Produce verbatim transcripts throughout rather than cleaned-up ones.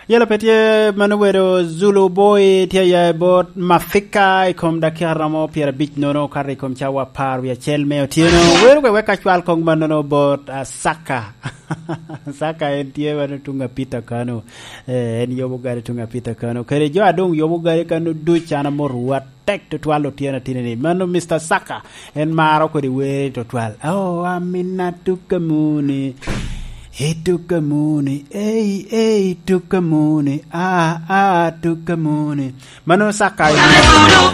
Yelo pe tye mano, wedo Zulu Boy tye aya i bot Mafika i kom dakika romo pyerabic nono okato i kom cawa apar wie acel me otyeno. Wero wek wek acwal kong mannono bot, ah, Saka. Saka en tye mano tuŋ apita kano. Eh, en yobo gari tuŋ apita kano. Kede jo a doŋ yobo gari kano duc an amoro wa tek tutwal otyeno atini ni. Mano Mister Saka, en maro kodi wer tutwal. Oh, Amina tuka muni. Hey, tuka muni. Hey, hey, tuka muni. Ah, ah, tuka muni. Mano Saka.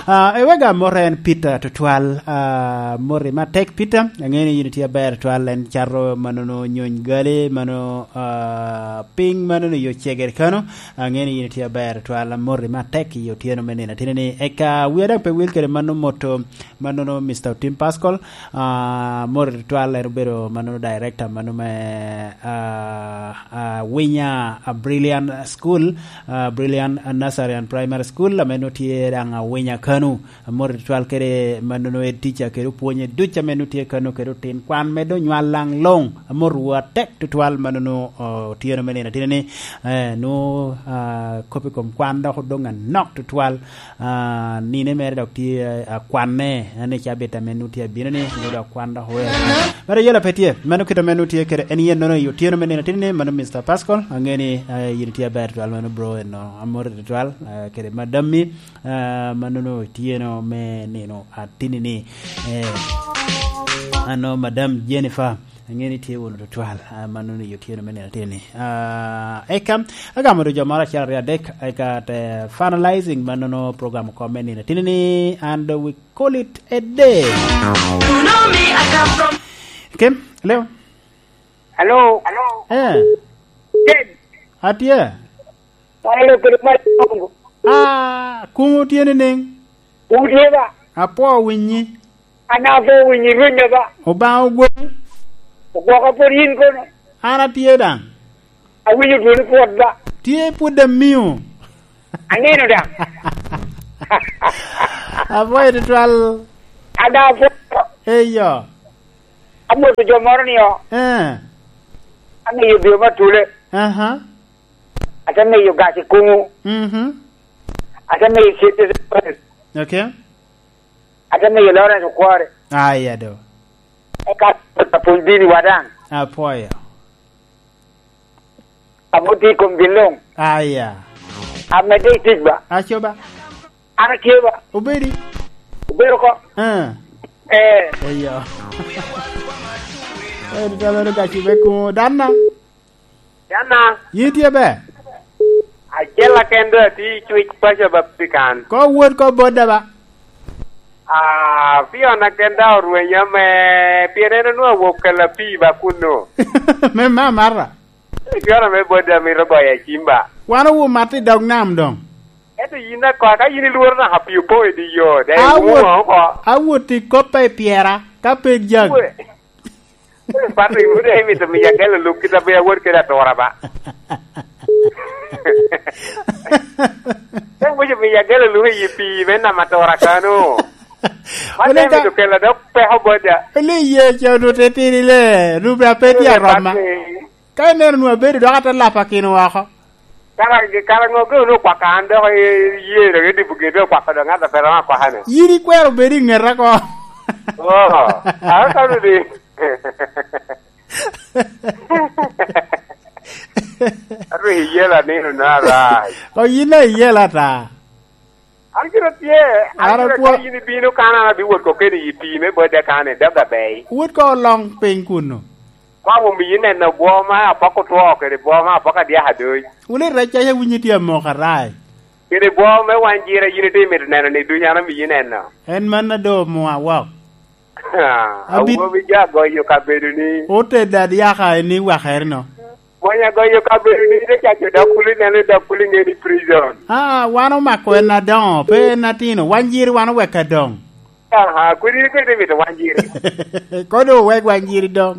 Ah, ewega amoro en Peter tutwal. Ah, mori matek Peter. Ang'e ni yin itye aber tutwal, en cato manono nyony gali, mano, ah, piny manono yo cegere kano. Ang'e ni yin itye aber twal, amoti matek i otyeno me nino atini ni. Eka wia dok pe wil kede mano moto, manono Mister Otim Pascal, ah, amoti twal, en obedo manono director mano me, ah, ah, Winya, ah, Brilliant School, ah, Brilliant Nursery and Primary School, ame nongo tye daŋ Awinya kano. Amoti tutwal kede manono head teacher kede opwonye duc ame nongo tye kano kede otin kwan me doŋ nywal laŋ luŋ. Amoti wu atek tutwal manono, oh, otyeno me nino atini ni, eh, nwoŋo, ah, kop i kom kwan dok odoŋ anok tutwal. Ah, nine mere dok tye, eh, akwanne, en i cabit ame nwoŋo tye abino ni, nwoŋo dok kwan dok oweo. Mere yela pe tye, mano kit ame nwoŋo tye kede en yen nono i otyeno me nino atini ni, mano Mister Pascal, ang'e ni, eh, yin itye aber tutwal mano bro, eno, amoti tutwal, eh, kede madammi. Ah, manono otyeno me nino atini ni. Eh, ano Madam Jennifer, ang'e ni tye wunu tutwal, ah, manono i otyeno me nino atini ni. Ah, eka, agamo jo moro acel aryo adek, eka te finalizing manono program oko me nino atini ni, and we call it a day. Kim, hello? Hello? Eh. Ted. Atye. Malo kede malo. Ah, kuŋ otye niŋ? Kuŋ tye ba? Apwoo winyi. An apwoo winyi rwenya ba? Obaŋa ogweli. Ogwoka pwod yin kono? An atye daŋ. Awinyo dwoni pwod ba? Tye pwod amio. Aneno daŋ. Apwoyo tutwal. An daŋ apwoo. Eyo. Amwoto jo moro ni o. Eh. Amiyo bio ma tule. Aha. Ate miyo gac i kuŋu. Mhm. Ate miyo cente. Okay. Ate miyo Lawrence Okware. Aya do. Eka apwony dini wa daŋ. Apwoyo. Amo tye i kom gin luŋ. Aya. Amedde i tic ba. Aco ba. An atye ba. Obedi. Obedo ko. Ah. Eh. Eyo. Eh, tutwal meno gaci me kuŋo. Danna. Danna. Yin tye be? Acel aken do atye i Cwic paco ba pikan. Ko wot ko bodda ba? Ah, piona ken da orwenya me, pien en onwongo awok kela pii ba kunno. Me mamata. Piona me bodda mito goyo acim ba. Wan owo mat i dog nam doŋ. Ento yin ako, ka yin ilworo naka pii opo i di yo, de Awot, iwumo oko. Awot i koppa i pyera, ka pe jagi. Pato, iwude imito miya gelo luk kit a be awot kede atura ba. Ka iwinyo miya gelo luk i pii me nam atura kano. Man Wele te ka mito kelo dok peko boda. Wele iye ca onwoŋo te tiri le, rubbe a pe tye aroma. Ka ineno onwoŋo abedo dok ate lapa kino oko. Kara, kara ŋo gin onwoŋo okwaka an dok i-, iyee dok idibo gin dok okwako dok ŋat a pe romo akwaka-ni? Yin ikwero bedo i ŋeta ko. Oh, a, kano di. Aru iyela nino na arac. O, yin a iyela ata. An gire tye, an Ara gire kwa- ka yin ibino kan an abiwot kokeni i pii me bodda kan i dog abei. Wot ko oloŋ piny kunnu. Kwa omiyi neno bwo ma apoko two kede bwo ma apoko adyak adoc. Wule rec aye winyi tye amoko arac. Kede bwo me wan jira yin ite mito neno ni duny an omiyi neno. En man a do mwa wok. Abi- Awobi ja goyo kabedo ni. Otedde adyaka en ni wakere no. Monya goyo kabedo ni te caco dok kuli neno dok kuli nge ni prison. Ah, wan omako en adoŋo, pe en atino. Wan jiri wan owek adoŋ. Aha, kuli ni kete mito wan jiri. Kodo owek wan jiri doŋ.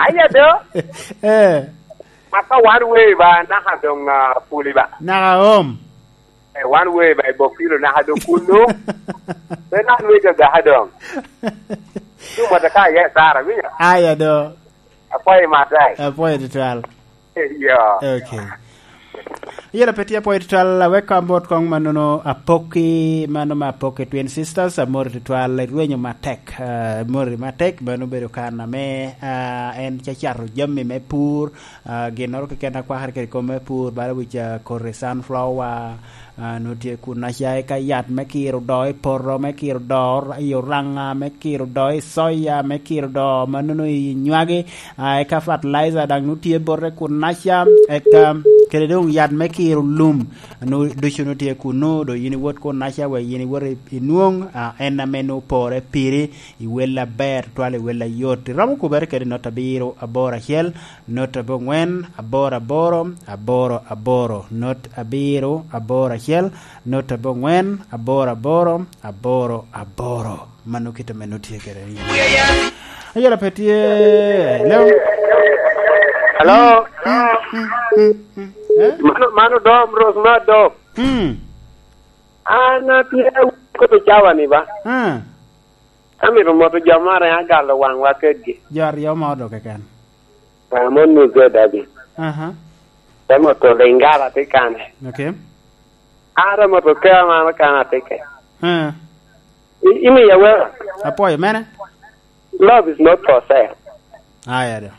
Aya do. Eh. Aka wan we ba naka doŋ, ah, puli ba. Naka om. Eh, wan we ba i Bokilo naka do kunno. Pe nan we ga ga doŋ. Tu mata ka ya sara, winyo? Aya do. Apoyo matai. Apoyo tutwal. Yeah. Okay. Yela pe tye apwoyo tutwal, awek ka amot kong mannono Apoki, mano me Apoki Twin Sisters, amori tutwal, irwenyo matek, ah, mori matek, mano obedo kan ame, ah, en cacato jami me pur, ah, ginnoro keken akwakere kede kom me pur, bala wic, ah, koti sunflower, ah, nwo tye kun aca eka yat me kiro do i poto, me kiro do i oranga, me kiro do i soya, me kiro do mannono i nywagi, ah, eka fertilizer daŋ nwo tye bote kun aca, eka kede doŋ yat me kiro lum, nwo ducu nwo tye kunnu, do yin iwot kun aca wek yin iwot i, i nwoŋ, ah, en ame nwo pore piri, i wel aber, twal i wel ayot. Iromo kubere kede not abiro, aboro acel, not abongwen, aboro aboro, aboro aboro, not abiro, aboro acel, not abongwen, aboro aboro, aboro aboro. Mano kit ame nut tye kede ni. Ayela pe tye, hello? Hello? Mm, mm, mm, mm. Eh? Mano, mano dom, Rose, ma dom. Mm. An atye koto cawa ni ba? Ah. Amito moto jo mare agalo waŋwa kedgi. Jo aryo ma odo keken. Ramon Muzee David. Aha. Te moto Lingala tye kane. Okay. Ara moto kea mano kan atye ke. Ah. I-, imiya wera. Apwoyo mene? Love is not for sale. Aya do.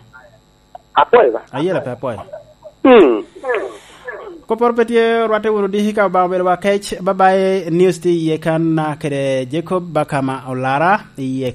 Apwoyo ba? Ayela pe apwoyo. Hmm. Koporo pe tye, orwatte wunu diki ka Obaŋa obedo wa kec. Bye bye, news tye iye kan, ah, kede Jacob Bakama Olara iye